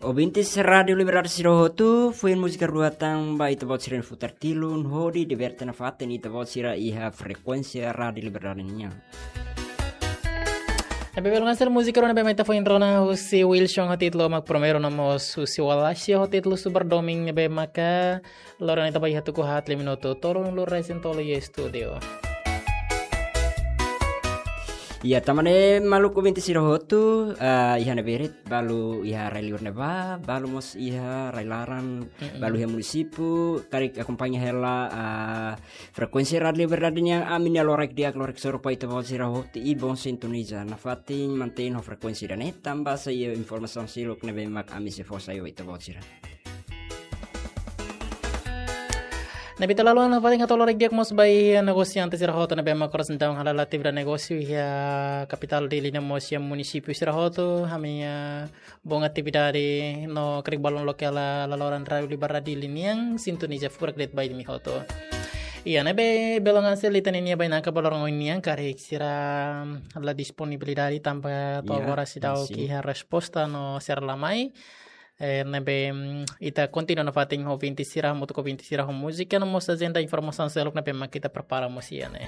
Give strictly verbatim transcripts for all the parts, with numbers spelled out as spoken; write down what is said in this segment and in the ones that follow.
Ouvintes Rádiu Liberdade sira hotu, foin múzika rua tan ba ita-boot sira-nia futar tilun, hodi diverte nafatin ita-boot sira iha frekuénsia Rádiu Liberdade nian. Ne'ebé belun hanesan múzika rua ne'ebé mak ita foin rona husi Wilson ho títulu Mak Primeiru no mós husi Wallace ho títulu Subar Domin ne'ebé maka loron ita ba iha tuku haat liu minutu tolunulu resin tolu iha estúdiu. Iya, tanba ne'e maluk ouvinte sira hotu, ah, iha ne'ebé de'it, balu iha rai liur ne'ebá, balu mós iha rai laran, Mm-mm. balu iha munisípiu, karik akompaña hela, ah, frekuénsia Rádiu Liberdade nian, ami-nia loraik di'ak, loraik soru ba ita-boot sira hotu, i bom sintoniza, nafatin mantein ho frekuénsia ida-ne'e, tanba sai informasaun seluk ne'ebé mak ami sei fó sai ba ita-boot sira. Ne'ebé ita la haluha nafatin hato'o loraik di'ak mós ba iha negosiante sira hotu ne'ebé mak oras ne'e daudaun hala'o atividade negósiu iha kapitál Dili no mós iha munisípiu sira hotu, ami, ah, bom atividade no karik balun loke la, la loran Rádiu Liberdade Dili nian, sintoniza furak de'it ba imi hotu. Iya, ne'ebé belun hanesan ita-nia bainaka ba loron ohin nian, karik sira la disponibilidade tanba to'o Iya, agora seidauk sin. iha resposta no sira la mai. Eh, ne'ebé, mm, ita kontinua nafatin ho ouvinte sira, hamutuk ho ouvinte sira ho múzika, no mós ajenda informasaun seluk ne'ebé mak ita prepara mós iha ne'e.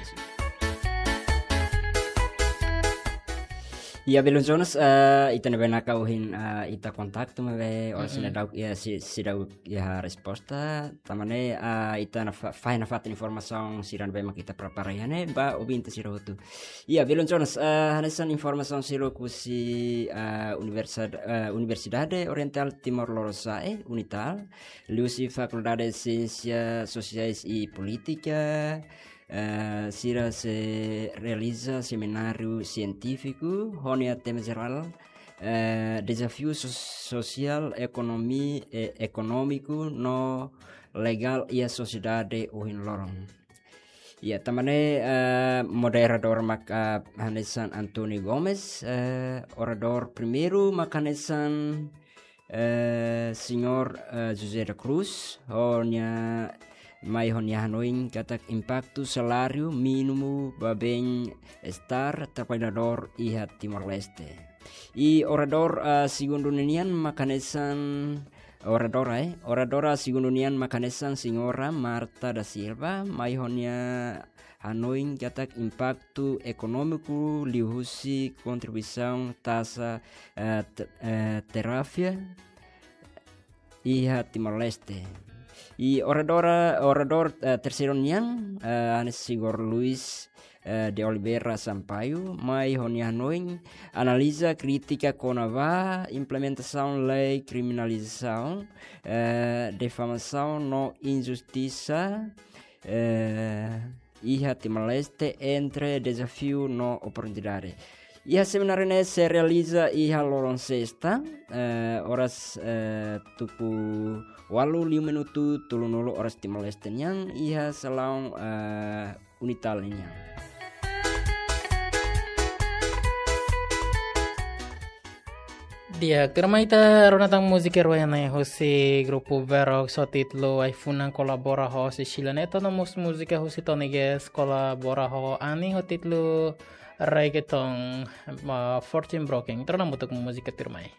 Iya, belun Jonas, eh, ita-nia bainaka ohin, eh, ita kontaktu maibé oras Mm-mm. seidauk, iya, sei-, seidauk iha resposta, tanba ne'e, eh, ita nafa-, fahe nafatin informasaun sira ne'ebé mak ita prepara iha ne'e, ba ouvinte sira hotu. Iya, belun Jonas, eh, hanesan informasaun seluk husi, eh, Universidad-, eh, Universidade Oriental Timor Lorosa'e, UNITAL, liuhusi Fakuldade Siénsia Sosiais i Polítika, eh, sira sei realiza semináriu sientífiku, ho nia tema jerál, eh, dezafiu so-, sosiál, ekonomi-, eh, ekonómiku no legál iha sosiedade ohin loron. Iya, tanba ne'e, eh, moderadór maka hanesan António Gomes, eh, oradór primeiru maka hanesan, eh, señór, eh, José da Cruz, ho nia mai ho nia hanoin katak impaktu saláriu mínimu ba bem-estar trabalhadór iha Timor-Leste. I oradór, eh, segundu ninian maka hanesan oradora, eh. Oradora segundu nian maka hanesan señora Marta da Silva, mai ho nia hanoin katak impaktu ekonómiku liuhusi kontribuisaun taxa, eh, t-, eh, tarifa iha Timor-Leste. I oradora, oradór, eh, terseiru nian, eh, hanesan señór Luis, eh, de Oliveira Sampaio, mai ho nia hanoin analiza krítika kona-ba implementasaun lei kriminalizasaun, eh, difamasaun no injustisa, eh, iha Timor-Leste entre dezafiu no oportunidade. Iha semináriu ne'e sei realiza iha loron sesta, eh, oras, eh, tuku ualu liu minutu tolunulu oras Timor-Leste nian, iha salaun, eh, UNITAL nian. Di'ak, tuirmai ita rona tan múzika rua ne'e husi grupu Verox ho títulu Ai-funan, kolabora ho Cecilia Neto, no mós múzika husi Tony Guest kolabora ho Ani ho títulu Reggaeton, ah, Fortune Broken. Ita rona hamutuk múzika tuirmai.